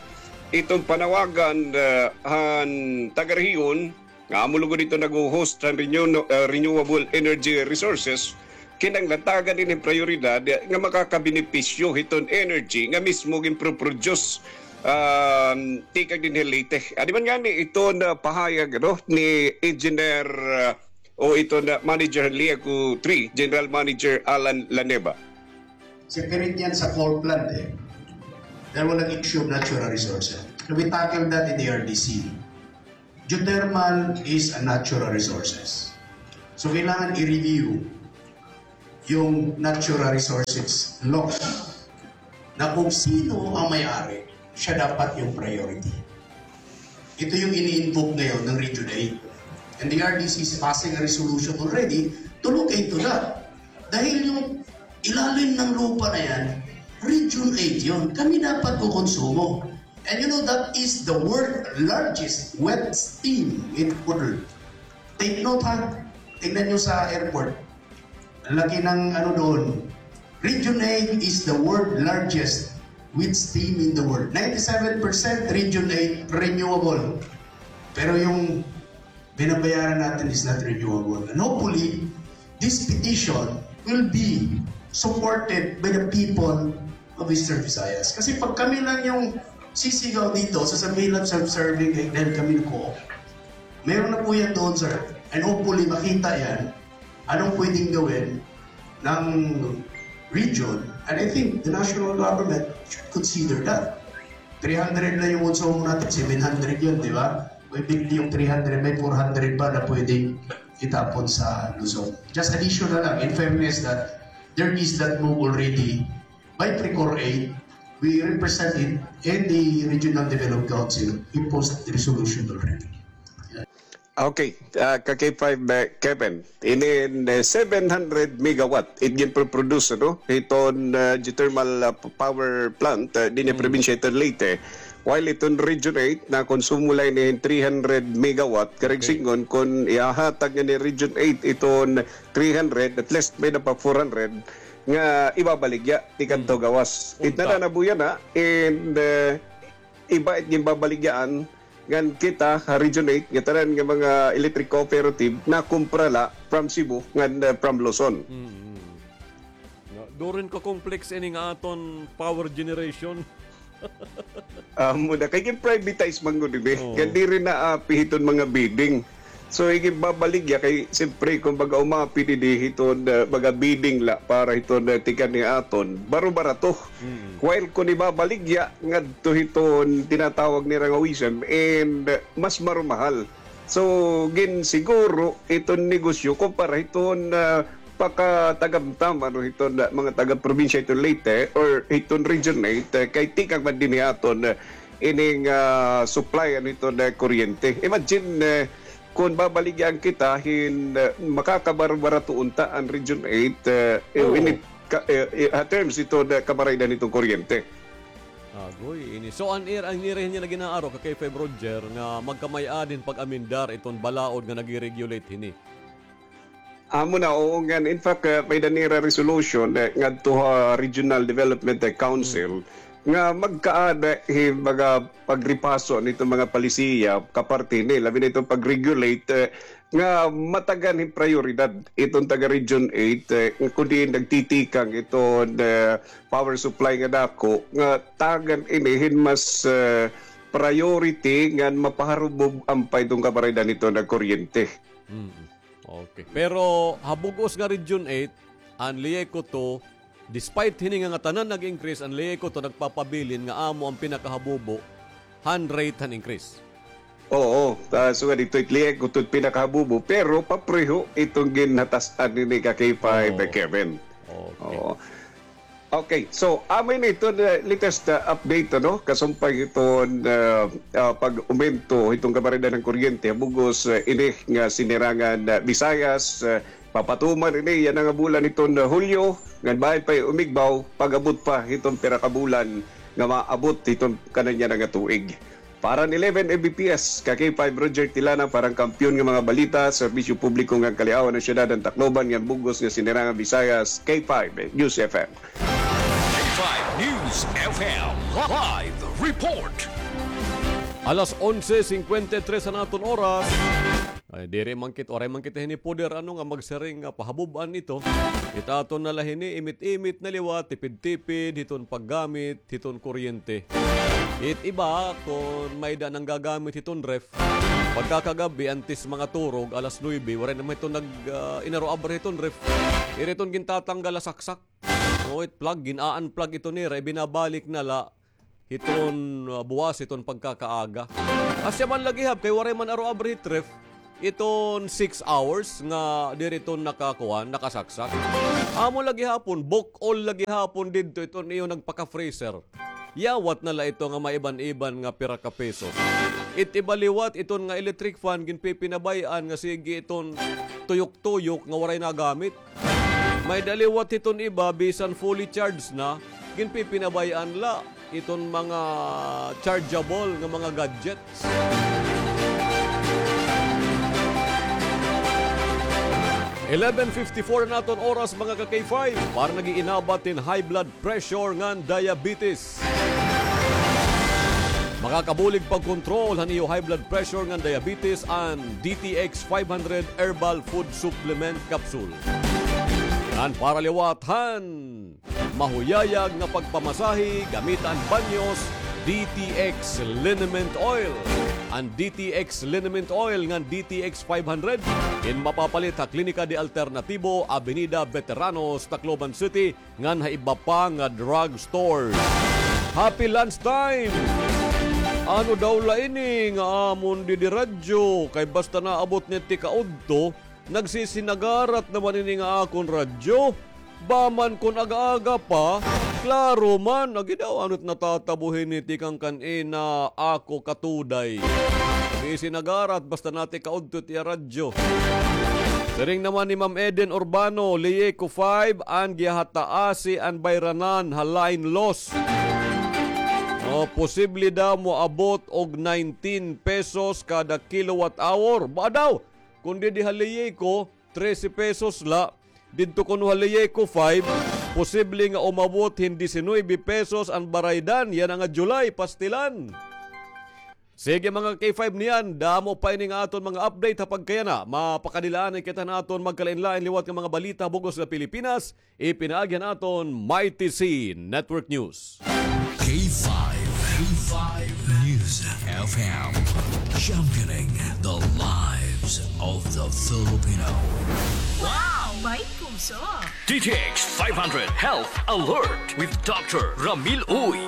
Iton panawagan, eh, han taga-rehiyon, nga amo lugod iton nagho-host han renew-, ah, renewable energy resources, kinahanglan tagan ini prayoridad nga makakabenepisyo hiton energy nga mismo ginproproduce, um, tikang dinhi Leyte. Adi man ngani iton, ah, pahayag, ano, ni Engineer, ah, o iton, ah, Manager Liay Kuto three, General Manager Alan Laniba. Separate yan sa coal plant, eh. Dahil walang issue of natural resources. So we tackle that in the R D C. Geothermal is a natural resources. So, kailangan i-review yung natural resources law na kung sino ang may-ari, siya dapat yung priority. Ito yung ini-invoke ngayon ng Region eight. And the R D C is passing a resolution already to look into that. Dahil yung ilalim ng lupa na yan, Region eight yun. Kami dapat kukonsumo. And you know, that is the world largest wet steam in the world. Take note, ha. Tingnan nyo sa airport. Ang laki ng ano doon. Region eight is the world largest wet steam in the world. Ninety-seven percent Region eight renewable. Pero yung binabayaran natin is not renewable. And hopefully, this petition will be supported by the people of Eastern Visayas. Kasi pag kami lang yung sisigaw dito, sasabihin lang self-serving, eh, dahil kami nag-co-op. Meron na po yan doon, sir. And hopefully, makita yan. Anong pwedeng gawin ng region? And I think the national government should consider that. Three hundred na yung uso mo natin, seven hundred yun, di ba? May bigli yung three hundred, may four hundred pa na pwedeng itapon sa Luzon. Just additional lang, in fairness that there is that move already by Precor eight, we represent it in the Regional Development Council, we post the resolution already. Okay, ah, ka K five, eh, Kevin, inin, eh, seven hundred megawatt it ginproproduce, no? Hiton, ah, geothermal, ah, p-, power plant, ah, dinhi ha probinsya hiton Leyte. While iton Region eight, nakonsumo la ini hin three hundred megawatt, karig sidngon, kon ihahatag ngani Region eight iton three hundred, at least may-ada pa four hundred nga ibabaligya tikang gawas. It na na buya na, and, eh, iba it ginbabaligyaan ngan kita ha Region eight, nga tanan nga mga electric cooperative nakumpra la from Cebu ngan, eh, from Luzon. No, durin ko complex ini nga aton power generation. Amo na, kay gin-privatize man gud ini. Kay diri na api hiton mga bidding. So, igibabaligya kay, siyempre, kon baga umapi didi hiton, ah, mga bidding la para hiton, ah, tikang ni aton, baro-barato. While kon ibabaligya ngadto hiton tinatawag nira nga WESM, and, ah, mas marumahal. So, ginsiguro iton negosyo kumpara hiton, ah, pakatagamtam, ano, hiton, ah, mga taga-probinsya hiton Leyte or hiton Region eight, eh, kay tikang man dinhi aton, eh, ining, ah, supply, ano, hiton, eh, kuryente. Imagine, eh, kon babaligyan kita hin, eh, makakabarbarato unta an Region eight, eh, eh, Oo. init ka, eh, eh, ha terms hiton, eh, kabaraydan hiton kuryente. Agoy, ini. So, an ir-, an ira niya na ginaaro ka kay Feb Roger nga magkamay-ada hin pag-amendar iton balaod nga nagi-regulate hini. Amo na, oo nga. In fact, uh, may-ada nira resolution, eh, ngadto ha Regional Development, eh, Council nga magkaada hin mga pagripaso nito mga palisiya kaparte ni, labi na ito pag-regulate, eh, nga matagan hin prayoridad iton taga Region eight, eh, kundi nagtitikang iton, eh, power supply nga dako nga tagan ini hin mas, eh, priority ngan mapaharubob an pa iton kabaraydan hiton nga kuryente. Mm. Okay. Pero ha bug-os nga Region eight, an LIECO two, despite hini nga ngatanan nag-increase, an LIECO two nagpapabilin nga amo an pinakahabubo han rate han increase. Oo, ah, sugad ito it LIECO two it pinakahabubo, pero papreho iton ginhatas-an nini ka K five, Oo. eh, Kevin. Okay. Oo. Okay, so amo ini iton, uh, latest, uh, update, ano, kasumpay hiton, uh, uh, pag-umento hiton kabaraydan han kuryente ha bug-os, uh, ini nga Sinirangan, uh, Visayas. Uh, papatuman ini yana nga bulan hiton, uh, Hulyo, ngan bahin pa umigbaw pag-abot pa hiton pira ka bulan nga maabot hiton kanan yana nga tuig. Para han eleven M B P S, ka K five Roger Tilana, para han Kampiyon nga mga Balita, Serbisyo Publiko ngan Kaliawan han Syudad han Tacloban ngan bug-os nga Sinirangan Visayas, K five News F M. K five News F M live report. Alas onse singkwenta y tres an aton oras. Ay, diri man kit-, waray man kita hini poder, ano, nga magsiring nga pahabob-an ito. It aton na la hini, imit-imit na liwat, tipid-tipid hiton paggamit hiton kuryente. It iba, kon may-ada nanggagamit hiton ref, pagkakagab-i, antes mga turog, alas nuebe, waray naman hiton nag, ah, inaro-abri hiton ref. Iri iton gintatanggal ha saksak. O, it plug, gin-a-unplug ito nira, ibinabalik na la hiton, ah, buwas hiton pagkakaaga. Asya man la gihap, kay waray man aro-abri hit ref, iton six hours nga diri iton nakakuan, nakasaksak. Amo la gihapon, bukol la gihapon didto iton iyo nagpaka-freezer. Yawat na la ito nga maiban-iban nga pira ka pesos. It iba liwat, iton nga electric fan, ginpipinabay-an nga sige iton tuyok-tuyok nga waray nagamit. May-ada liwat hiton iba, bisan fully charged na, ginpipinabay-an la iton mga chargeable nga mga gadgets. Eleven fifty-four an aton oras, mga ka K five, para nag-iinabat hin high blood pressure ngan diabetes. Makakabulig pagkontrol han iyo high blood pressure ngan diabetes an D T X five hundred Herbal Food Supplement Capsule. Ngan para liwat han mahuyayag nga pagpamasahe, gamita an banyos, D T X Liniment Oil. An D T X Liniment Oil ngan D T X five hundred in mapapalit ha Klinika de Alternativo, Avenida Veteranos, Tacloban City, ngan ha iba pa nga drug stores. Happy lunch time! Ano daw la ini nga amon didi radyo? Kay basta naabot ni tikaudto, nagsisinagarat naman ini nga akon radyo. Ba man kon aga-aga pa, klaro man. Agi daw, ano't natatabo hini tikang kan-ina, ako katuday. Sisinagarat basta na tikaudto it iya radyo. Siring naman ni Ma'am Eden Urbano, Lieco five, an gihataasi an bayranan ha line loss. O, posible daw moabot og nineteen pesos kada kilowatt hour. Ba daw, kun didi ha Lieco, trese pesos la. Didto kuno ha Lieco five, posible nga umabot hin disinuybe pesos an baraydan yana nga July, pastilan. Sige, mga K five, niyan, damo pa ini nga aton mga update ha pagkayana. Mapakadilaanay kita han aton magkalain-lain liwat nga mga balita bug-os nga Pilipinas, ipinaagi han aton Mighty C Network News. K five, K five News F M, championing the lives of the Filipino. Wow! May puso! D T X five hundred Health Alert with Doctor Ramil Uy.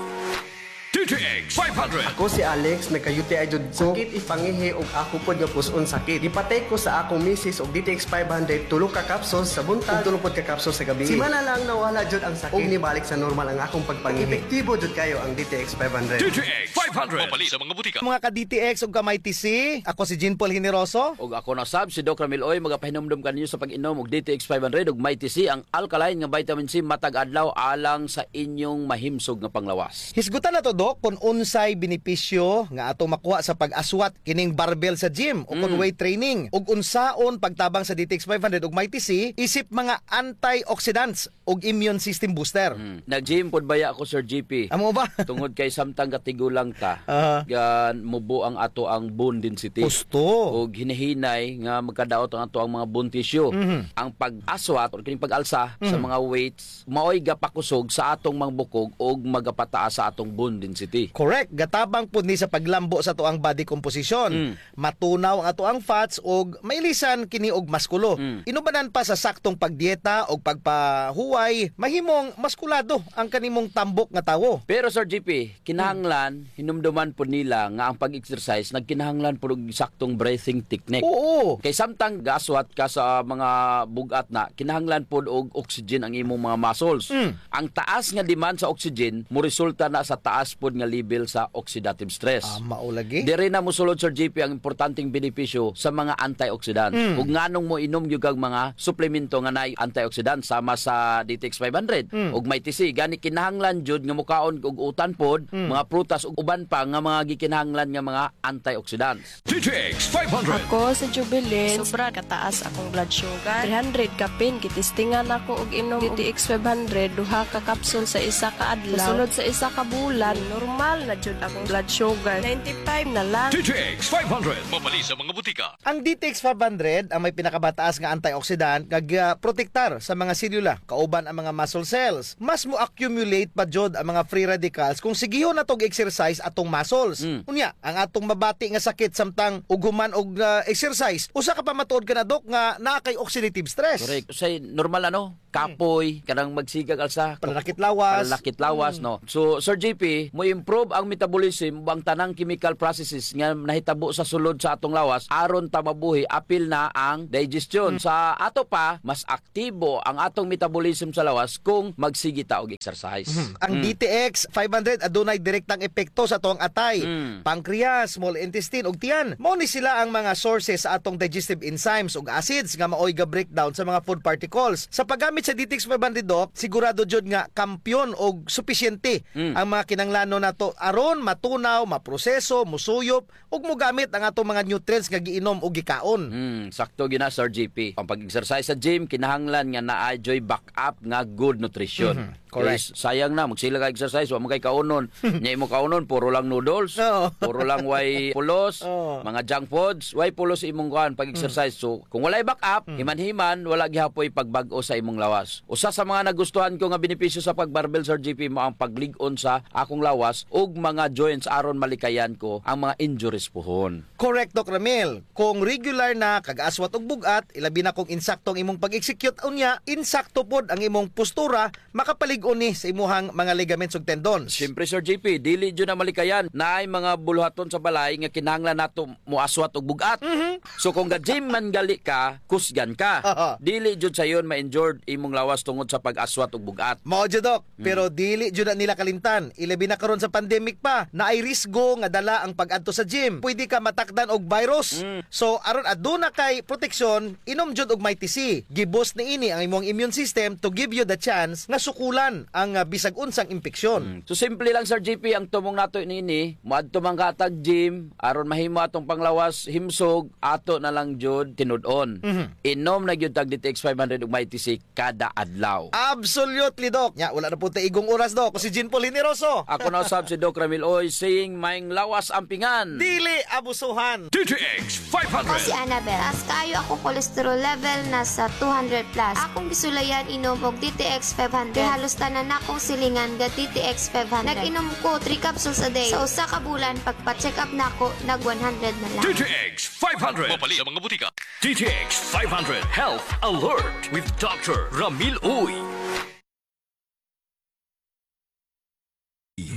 D T X five hundred. Ako si Alex, nagka-U T I jud ko. Sakit ipangihi ug ako pod nga pus-on sakit. Gipatake ko sa akong misis og D T X five hundred, tulo ka capsules sa buntag ug tulo pod ka capsules sa gabii. Simana lang nawala jud ang sakit ug nibalik sa normal ang akong pagpangihi. Epektibo jud kayo ang D T X five hundred. D T X five hundred. Mapalit sa mga butika. Mga ka-D T X ug ka-Mighty C, ako si Jean Paul Generoso. Ug ako na sab, si Doc Ramil Uy, magapahinumdom kaninyo sa pag-inom og D T X five hundred ug Mighty C, ang alkaline nga vitamin C matag adlaw alang sa inyong mahimsog nga panglawas. Hisgutan nato, Doc, kon unsay benepisyo nga atong makuha sa pag-aswat kining barbell sa gym o kon weight training, ug unsaon pagtabang sa D T X five hundred ug Mighty C isip mga antioxidants ug immune system booster. Mm. Nag-gym pod baya ako, Sir G P. Amo ba? Tungod kay samtang gatigulang ta, Aha. ga-, mubo ang ato ang bone density. Husto. Ug hinahinay nga magkadaot ang ato ang mga bone tissue. Mhm. Ang pag-aswat or kining pag-alsa sa Mhm. mga weights, maoy gapakusog sa atong mga bukog ug magapataas sa atong bone density. Correct. Gatabang pud ni sa paglambo sa ato ang body composition. Mm. Matunaw ang ato ang fats ug mailisan kini og maskulo. Mm. Inubanan pa sa saktong pagdieta ug pagpahuway, mahimong maskulado ang kanimong tambok nga tawo. Pero, Sir G P, kinahanglan, hinumduman pod nila nga ang pag-exercise nagkinahanglan pod og saktong breathing technique. Oo. Kay samtang gaaswat ka sa mga bug-at na, kinahanglan pod og oxygen ang imong mga muscles. Mm. Ang taas nga demand sa oxygen, moresulta na sa taas pod nga level sa oxidative stress. Ah, mao lagi. Diri na mosulod, Sir G P, ang importanteng benepisyo sa mga antioxidant. Mm. Ug nganong moinom gyud kag mga suplemento nga naay antioxidant, sama sa D T X five hundred Mm. ug Mighty C. Gani kinahanglan jud nga mokaon og utan pod, Mm. mga prutas ug uban pa nga mga gikinahanglan nga mga antioxidants. D T X five hundred. Ako si Jubilin. Sobra kataas akong blood sugar. Three hundred kapin, gitistingan ako og inom D T X five hundred, duha ka kapsul sa isa ka adlaw. Sa sulod sa isa ka bulan, normal na jud akong blood sugar. Ninety-five na lang. D T X five hundred. Mapalit sa mga butika. Ang D T X five hundred ang may pinakamataas nga antioxidant nga gaprotektar sa mga selula, kauban ang mga muscle cells. Mas mo-accumulate pa jud ang mga free radicals kung sigihon nato og exercise atong muscles. Mm. Unya, ang atong mabati nga sakit samtang ug human og, ah, exercise, usa ka pamatuod kana, Doc, nga naa kay oxidative stress. Correct. Usahay normal, ano? Kapoy, kanang magsigag alsa. Pananakit lawas. Pananakit lawas, Mm. no? So, Sir G P, mo-improve ang metabolism ug ang tanang chemical processes nga nahitabo sa sulod sa atong lawas aron ta mabuhi, apil na ang digestion. Mm. Sa ato pa, mas aktibo ang atong metabolism sa lawas kung magsige ta og exercise. Mhm. Ang Mm. D T X five hundred adunay direktang epekto sa atoang atay, Mm. pancreas, small intestine, ug tiyan. Mao ni sila ang mga sources sa atong digestive enzymes ug acids nga maoy ga-breakdown sa mga food particles. Sa paggamit sa D T X five hundred, Doc, sigurado jud nga kampiyon og supisyente Mm. ang mga kinahanglanon nato aron matunaw, maproseso, musuyop, ug mogamit ang atong mga nutrients nga giinom o gikaon. Hmm, sakto gyud na, Sir G P. Ang pag-exercise sa gym, kinahanglan nga naa juy backup nga good nutrition. Mhm, correct. Kay sayang na, magsige ka exercise, wa man kay kaunon. Nya imo kaunon, puro lang noodles, Oo. puro lang way pulos, Oo. mga junk foods, way pulos imong kuan pag-exercise. Mm. So, kung walay backup, Mm. himan-himan, wala gihapoy pagbag-o sa imong lawas. Usa sa mga nagustuhan ko nga benepisyo sa pag-barbell, Sir G P, mao ang paglig-on sa akong lawas. ug mga joints aron malikayan ko ang mga injuries puhon. Correct, Doc Ramil. Kung regular na kag aswat ug bug-at, ilabi na kung insakto ang imong pag-execute unya, insakto pod ang imong postura, makapalig-on ni sa imuhang mga ligaments ug tendons. Siyempre, Sir J P, dili jud na malikayan. Naay mga buluhaton sa balay nga kinahanglan nato moaswat og bug-at. Mhm. So, kung ga-gym man gali ka, kusgan ka. Aha. Dili jud sayon ma-injured imong lawas tungod sa pag-aswat og bug-at. Mao jud, Doc. Mm. Pero dili jud na nila kalimtan. Ilabi na karon sa pandemic pa, naay risgo nga dala ang pag-adto sa gym. Pwede ka matakdan og virus. Mm. So, aron aduna kay proteksyon, inom jud og Mighty C. Gi-boost niini ang imong immune system to give you the chance nga sukulan ang, ah, bisag unsang impeksyon. Mm. So, simple lang, Sir J P, ang tumong nato niini, moadto man ka tag gym, aron mahimo atong panglawas, himsog, ato na lang jud tinud-on. Mhm. Inom na gyud tag D T X five hundred ug Mighty C kada adlaw. Absolutely, Doc. Nya, wala na pod ta igong oras, Doc. Ako si Jean Paul Generoso. Ako na usab si Doc Ramil Uy, saying, maayong lawas ampingan. Dili abusuhan. D T X five hundred. Ako si Annabel. Taas kaayo akong cholesterol level, nasa two hundred plus. Akong gisulayan inom og D T X five hundred. Kay halos tanan nakong silingan ga D T X five hundred. Nag-inom ko three capsules a day. Sa usa ka bulan, pagpa-check up nako, nag one hundred na lang. D T X five hundred. Mapalit sa mga butika. D T X five hundred Health Alert with Doctor Ramil Uy.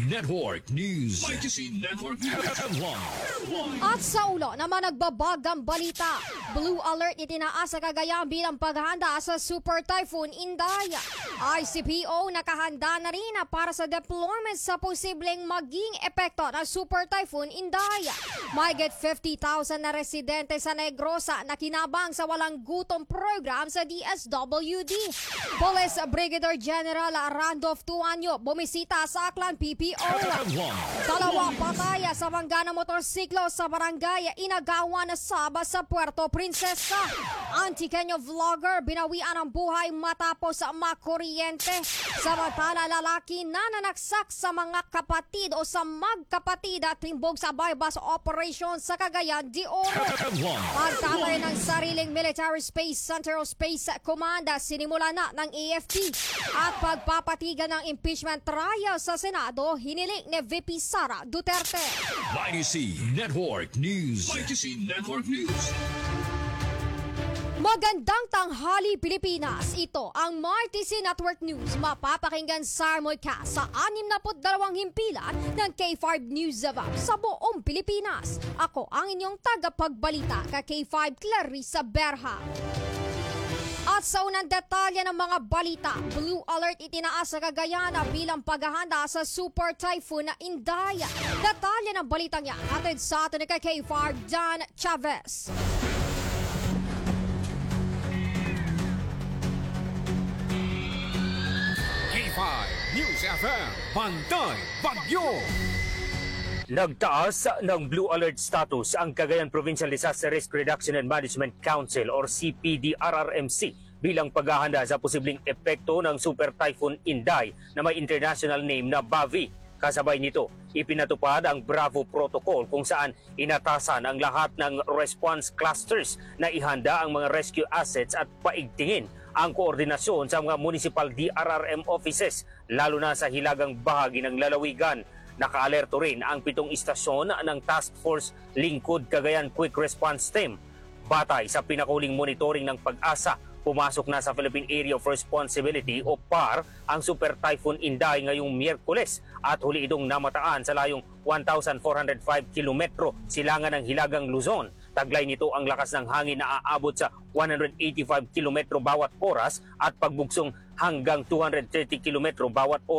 Network News. Legacy Network News. Headline. At sa ulo naman nagbabagang balita, blue alert itinaas sa Cagayan bilang paghahanda sa Super Typhoon Inday. I C P O nakahanda na rin para sa deployment sa posibleng maging epekto ng Super Typhoon Inday. Mahigit fifty thousand na residente sa Negrosa nakinabang sa walang gutom program sa D S W D. Police Brigadier General Randolph Tuanyo bumisita sa Aklan P P O. Dalawa patay sa mangga na motorsiklo sa barangay Inagawan, Sabas sa Puerto Princesa. Antiqueño vlogger binawian ng buhay matapos makuryente. Samantala, lalaki nananaksak sa mga kapatid o sa magkapatid at timbog sa buy-bust operation sa Cagayan de Oro. Pagtatay ng sariling military space center o space command, sinimulan na ng A F P. At pagpapatigan ng impeachment trial sa Senado, hiniling ni V P Sara Duterte. Mighty C Network News. Mighty C Network News. Magandang tanghali, Pilipinas. Ito ang Mighty C Network News. Mapapakinggan simulcast sa anim na put dalawang himpilan ng K five News F M sa buong Pilipinas. Ako ang inyong tagapagbalita, ka K five Clarissa Berha. At sa unang detalye ng mga balita, blue alert itinaas sa Cagayan bilang paghahanda sa Super Typhoon Inday. Detalye ng balitang yan, hatid sa atin ni ka K five Dan Chavez. K five News F M, Bantay Bagyo. Nagtaas ng blue alert status ang Cagayan Provincial Disaster Risk Reduction and Management Council or C P D R R M C bilang paghahanda sa posibleng epekto ng Super Typhoon Inday na may international name na Bavi. Kasabay nito, ipinatupad ang Bravo Protocol kung saan inatasan ang lahat ng response clusters na ihanda ang mga rescue assets at paigtingin ang koordinasyon sa mga municipal D R R M offices, lalo na sa hilagang bahagi ng lalawigan. Nakaalerto rin ang pitong istasyon ng Task Force Lingkod Cagayan Quick Response Team. Batay sa pinakahuling monitoring ng PAGASA, pumasok na sa Philippine Area of Responsibility o PAR ang Super Typhoon Inday ngayong Miyerkules at huli itong namataan sa layong one thousand four hundred five kilometro silangan ng Hilagang Luzon. Taglay nito ang lakas ng hangin na aabot sa one hundred eighty-five kilometro bawat oras at pagbugsong hanggang two hundred thirty kilometro bawat oras.